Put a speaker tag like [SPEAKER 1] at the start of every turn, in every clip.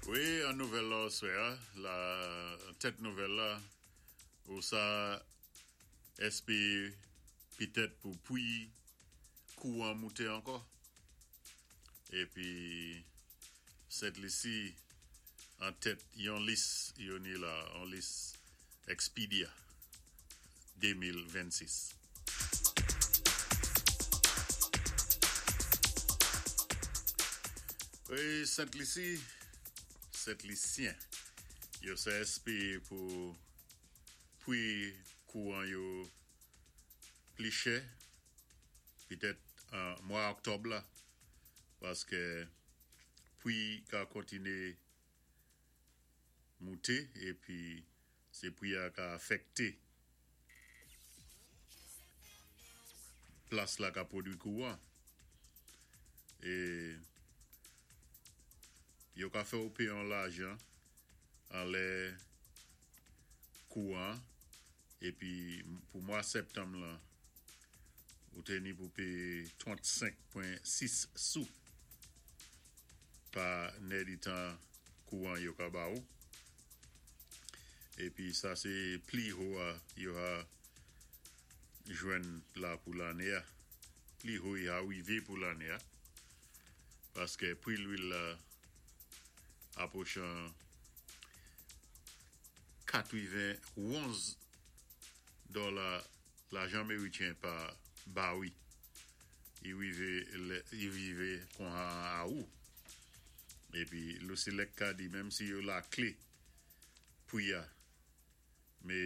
[SPEAKER 1] Wi, an nouvèl la oswè-a, la tèt nouvèl la, ou sa èspéwé pitèt pou pwi kouwan mouté ankò. Épi Sent Lisi an tèt yon lis yo ni la, on lis Expedia 2026. Wi, Sent Lisi, Sent Lisyen yo sa èspéwé pou pwi kouwan yo pli chè pitèt an mwa Oktòb la paské pwi ka kontiné mouté épi sé pwi-a ka afèkté plas la ka pwodwi kouwan é yo ka fè ou péyé on lajan anlè kouwan épi pou mwa Sèptanm lan ou té ni pou péyé 35.6 sou pa nèditan kouwan yo ka ba ou. Épi sa sé pli ho-a yo ha jwenn la pou lanné-a. Pli ho i ha wivé pou lanné-a paské pwi lwil la apwochan 91 dòla lajan mérityen pa bawi. I wivé lè i wivé konha an Awou. Épi Lucelec ka di menm si yo laklé pwi-a mé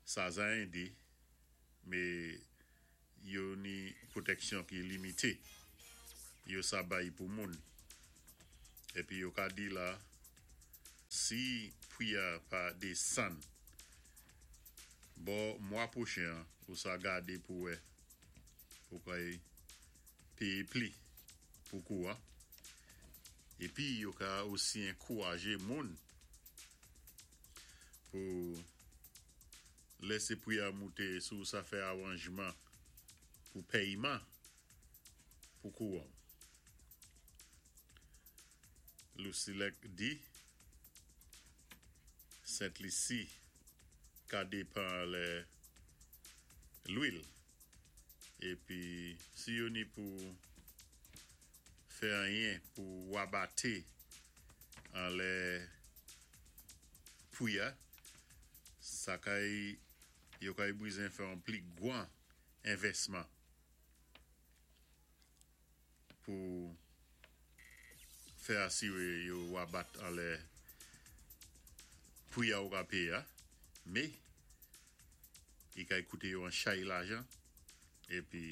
[SPEAKER 1] sa za édé mé yo ni pwotèksyon ki limité yo sa bay pou moun. Épi yo ka di la si pwi-a pa désann bò mwa pwochen an ou sa gadé pou wè ou kay péyé pli pou kouwan. Épi yo ka osi ankourajé moun pou lèsé pwi-a mouté si-w sa fè awanjman pou pèyman pou kouwan. Lucelec di Sent Lisi ka dépan anlè lwil épi si yo ni pou fè anyen pou wabaté anlè pwi-a sa kay yo kay bwizen fè on pli gwan envèsman pou fè asiwé yo wabat anlè pwi-a ou ka péyé-a mé i kay kouté yo an chay lajan épi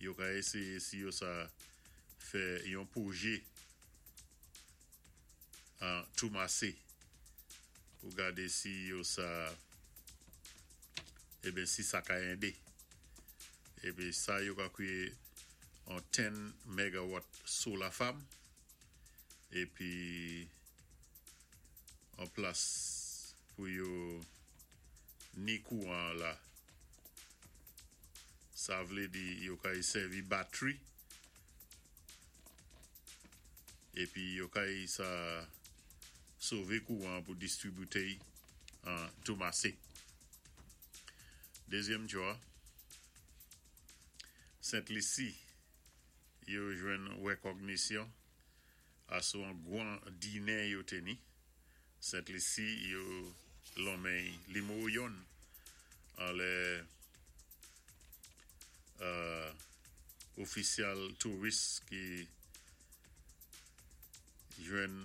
[SPEAKER 1] yo ka éséyé si yo sa fè yon pwojé an Toumase pou gadé si yo sa eben si sa ka édé. Épi sa yo ka kwiyé on 10 megawatt solar farm épi an plas pou yo ni kouwan la. Sa vlé di yo kay sèvi batri épi yo kay sa sové kouwan pou distribité an Toumase. Dézyèm djò, Sent Lisi yo jwenn wèkògnisyon asou an gwan dinen yo té ni. Sent Lisi yo lonmen nimewo yonn anlè ofisyal touris ki jwenn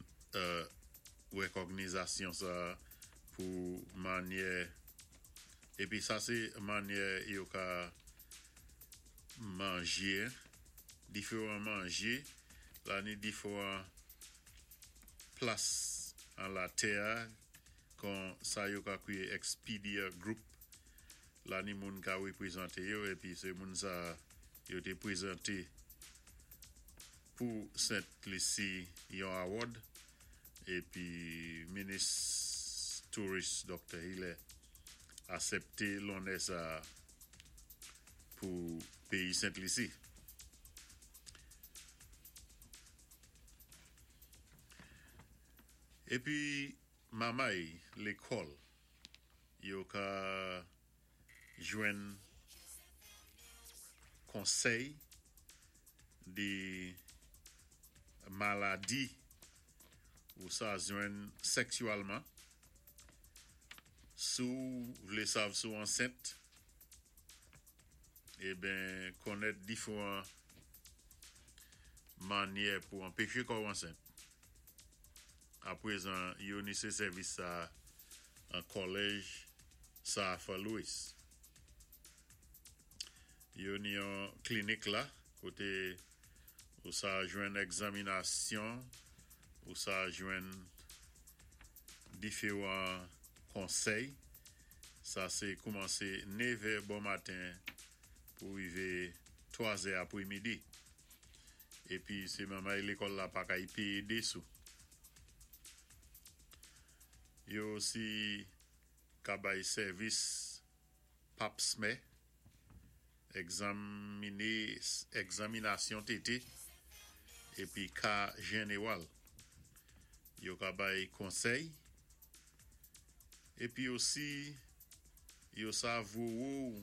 [SPEAKER 1] wèkògnizasyon sa pou manyè épi sa sé manyè yo ka manjé diféwan manjé la ni diféwan plas an latè-a kon sa yo ka kwiyé Expedia Group la ni moun ka wépwézanté yo épi sé moun sa yo té pwézanté pou Sent Lisi yon award épi minis touris Dr. Hilaire asèpté lonnè sa pou péyi Sent Lisi. Épi mamay lékòl yo ka jwenn konsèy di maladi ou sa jwenn sèksyèlman. Si-w vlé sav si-w ansent, eben konnèt diféwan mannyè pou anpéché kò-w ansent. Apwézan yo ni sé sèvis sa an kòlèj sa Arthur Lewis. Yo ni yon klinik la koté ou sa jwenn egzaminasyon, ou sa jwenn diféwan konsèy. Sa sé koumansé 9è bon maten pou rivé 3 zè apwémidi. Épi sé manmay lékòl la pa kay péyé dé sou. Yo osi ka bay sèvis pap smè, egzaminé egzaminasyon tété épi ka jenewal. Yo ka bay konsèy épi osi yo sa vowo-w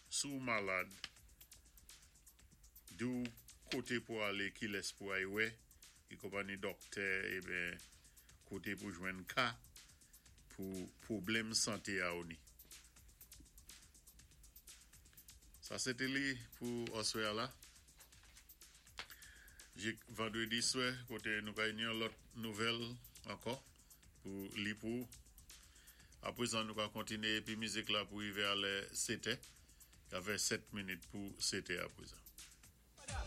[SPEAKER 1] si-w malad, di-w koté pou alé, kilès pou ay wè, ki konpanni dòktè eben koté pou jwenn ka pou pwoblèm santé a ou ni. Sa sé té li pou aswè a la. Jik vandwédi swè koté nou kay ni yon lòt nouvèl ankò pou li pou ou. Apwézan nou ka kontiné épi mizik la pou rivé a lè 7è, ka fè 7 minit pou 7è apwézan.